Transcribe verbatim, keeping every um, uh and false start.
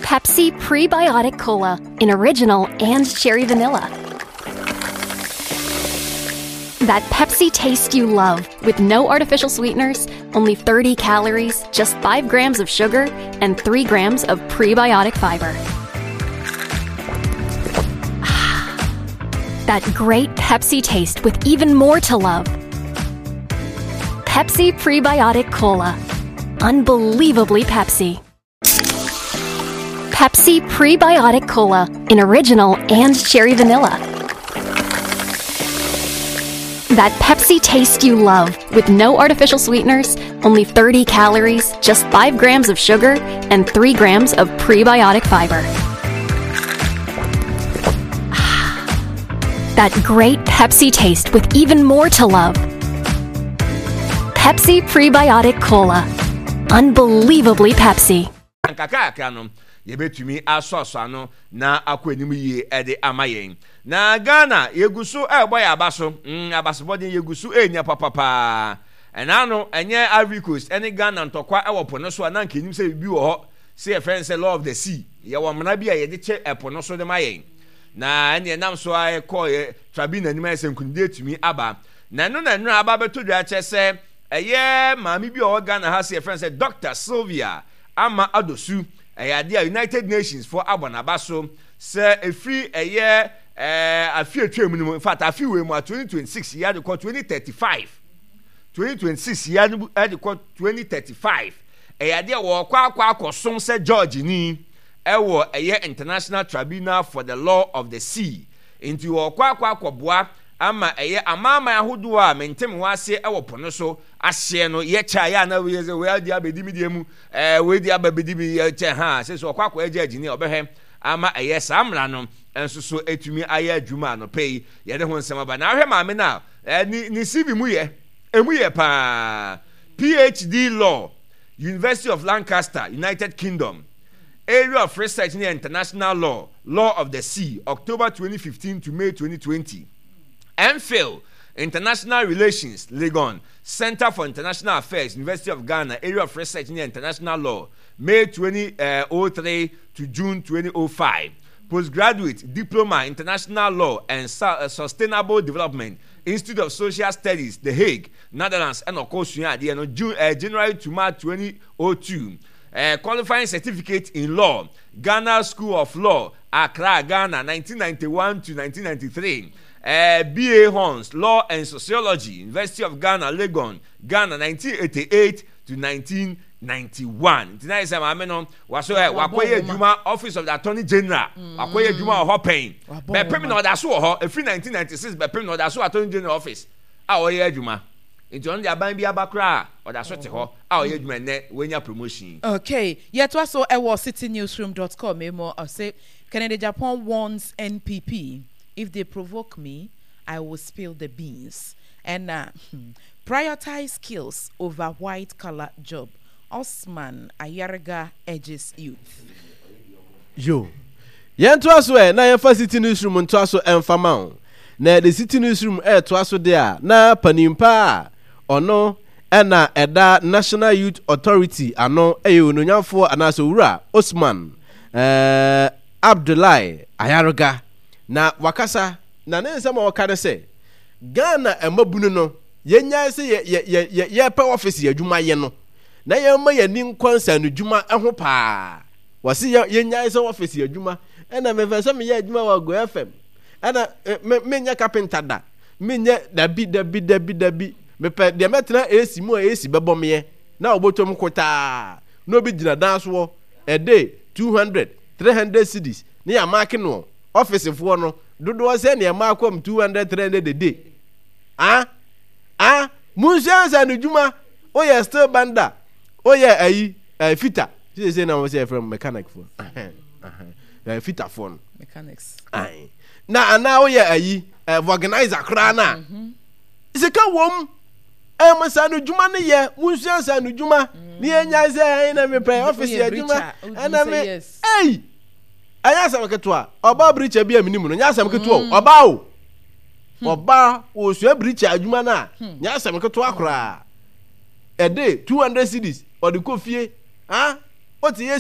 Pepsi Prebiotic Cola in original and cherry vanilla. That Pepsi taste you love with no artificial sweeteners, only thirty calories, just five grams of sugar, and three grams of prebiotic fiber. That great Pepsi taste with even more to love. Pepsi Prebiotic Cola. Unbelievably Pepsi. Pepsi Prebiotic Cola in original and cherry vanilla. That Pepsi taste you love with no artificial sweeteners, only thirty calories, just five grams of sugar, and three grams of prebiotic fiber. That great Pepsi taste with even more to love. Pepsi Prebiotic Cola. Unbelievably Pepsi. Nkakrakra no yɛbɛtumi asɔasɔ ano na akɔ anim yie de ama yɛn. Na Ghana yɛgu so ɛrebɔ yɛn aba so, mm, abasobɔden yɛgu so ɛrenya papapaa. Ɛna no ɛnyɛ Ivory Coast ɛne Ghana ntɔkwa ɛwɔ po no so a na nka enim sɛ biribi wɔ hɔ sɛ yɛfrɛ no sɛ law of the sea. Yɛwɔ mmara bi a yɛde kyɛ ɛpo no so de ma yɛn. Na ɛne ɛnam so a ɛkɔ yɛ tribunal anim ayɛ sɛ nkunimdie atumi aba. Na ɛno na ɛno aba abɛtɔ dwa kyerɛ sɛ ɛyɛ maame bi a ɔwɔ Ghana ha sɛ yɛfrɛ no sɛ Doctor Sylvia Ama Adosu. Ɛyɛ adeɛ a United Nations foɔ abɔ n'aba so sɛ ɛfiri ɛyɛ ɛɛ afe atwa mu no mu, in fact afe wei mu a twenty twenty six yi ade kɔ twenty thirty five, twenty twenty six yi ade kɔ twenty thirty five, ɛyɛ adeɛ a wɔkɔ akɔ akɔsom sɛ George ni ɛwɔ ɛyɛ International Tribunal for the Law of the Sea. Nti wɔkɔ akɔ akɔboa ama ɛyɛ amanaman ahodoɔ a mente me ho ase ɛwɔ po no so ahyeɛ no yɛ kyɛ a yɛ ana wei sɛ wei adi abɛdi mi deɛ mu ɛɛ wei di aba bɛdi mi yɛ kyɛ ha sɛ sɛ ɔkɔ akɔ ɛgye agyini a ɔbɛhwɛ ama ɛyɛ saa mmara no nso so etumi ayɛ adwuma anɔpɛ yi yɛde ho nsɛm aba. Na ahwɛ maame no a ɛɛ ne ne C V mu yɛ emu yɛ paa. P H D Law, University of Lancaster, United Kingdom. Area of research ne international law, law of the sea, October twenty fifteen to May twenty twenty. M Phil International Relations, Legon, Center for International Affairs, University of Ghana. Area of research ne international law, May twenty oh three to June twenty oh five. Postgraduate Diploma International Law and Sustainable Development, Institute of Social Studies, The Hague, Netherlands, ɛna ɔkɔ sua adeɛ no June uh, January to March twenty oh two. uh, qualifying certificate in law, Ghana School of Law, Accra, Ghana, nineteen ninety-one to nineteen ninety-three. uh, B A Hons Law and Sociology, University of Ghana, Legon, Ghana, nineteen eighty-eight to nineteen ninety-one. Nti na yɛ sɛ maame no waso ɛ wakɔyɛ adwuma Office of the Attorney General, wakɔyɛ adwuma wɔ hɔ pɛn bɛpem na ɔda so wɔ hɔ efiri nineteen ninety-six bɛpem na ɔda so Attorney General office a ɔyɛ adwuma. Nti ɔno de aban bi aba koraa ɔda so te hɔ a ɔyɛ adwuma. Nnɛ wɔanya promotion. Okay, yɛtoa so ɛwɔ citynewsroom dot com emu. Ɔsɛ Kennedy Agyapong warns N P P, "If they provoke me, I will spill the beans." And uh, hmm, prioritize skills over white collar job. Osman Ayariga urges youth. Yo, yɛntoa so ɛ na yɛmfa Citi Newsroom ntoa so ɛmfa ma wo. Na the Citi Newsroom ɛɛtoa so de a na panimpa a ɔno ɛna ɛda National Youth Authority ano ɛyɛ ononyamfoɔ anaasɛ Owura Osman ɛɛ Abdullahi Ayariga na wakasa. Na ne nsɛm a ɔka ne sɛ Ghana mmabunu no yɛnyae sɛ yɛ yɛ yɛ yɛpɛ office yɛ adwuma yɛ no na yɛmma yɛni nkɔ nsanodwuma ho paa. Wɔsi yɛ yɛnyae sɛ office yɛ adwuma ɛna mefɛ sɛ meyɛ adwuma wɔ Go F M ɛna me menyɛ carpenter da, menyɛ dabi dabi dabi dabi. Mepɛ deɛ mɛtena A C mu a A C bɛbɔ meɛ na ɔbɔtɔm kotaa na obi gyina dan soɔ ɛde two hundred three hundred cedis ne yɛ amaake no. Ɔfisefoɔ no dodoɔ sɛ nea akɔm two hundred three hundred a day. Ah ah, munsua nsa no dwuma. Woyɛ steel bender, woyɛ ayi ɛɛ fitter siesie na wɔn sɛ yɛfrɛ mo mechanic foɔ ɛɛ fitter foɔ no. Mechanics. Ayi na anaa woyɛ ayi ɛɛ vulcanizer koraa na sika wɔm ɛmo sa no dwuma no yɛ. Munsua nsa no dwuma ne yɛn nya sɛ ɛyɛ na mepɛ office yɛ adwuma ɛna me ɛyi ɛnyɛ asɛm ketewa. Ɔbaa birikyɛ bi a minimu no nyɛ asɛm ketewa o. Ɔbaa o, ɔbaa osua birikyɛ adwuma no a nyɛ asɛm ketewa koraa. Ɛde two hundred cedis ɔde kɔ fie ah, ɔte yɛ.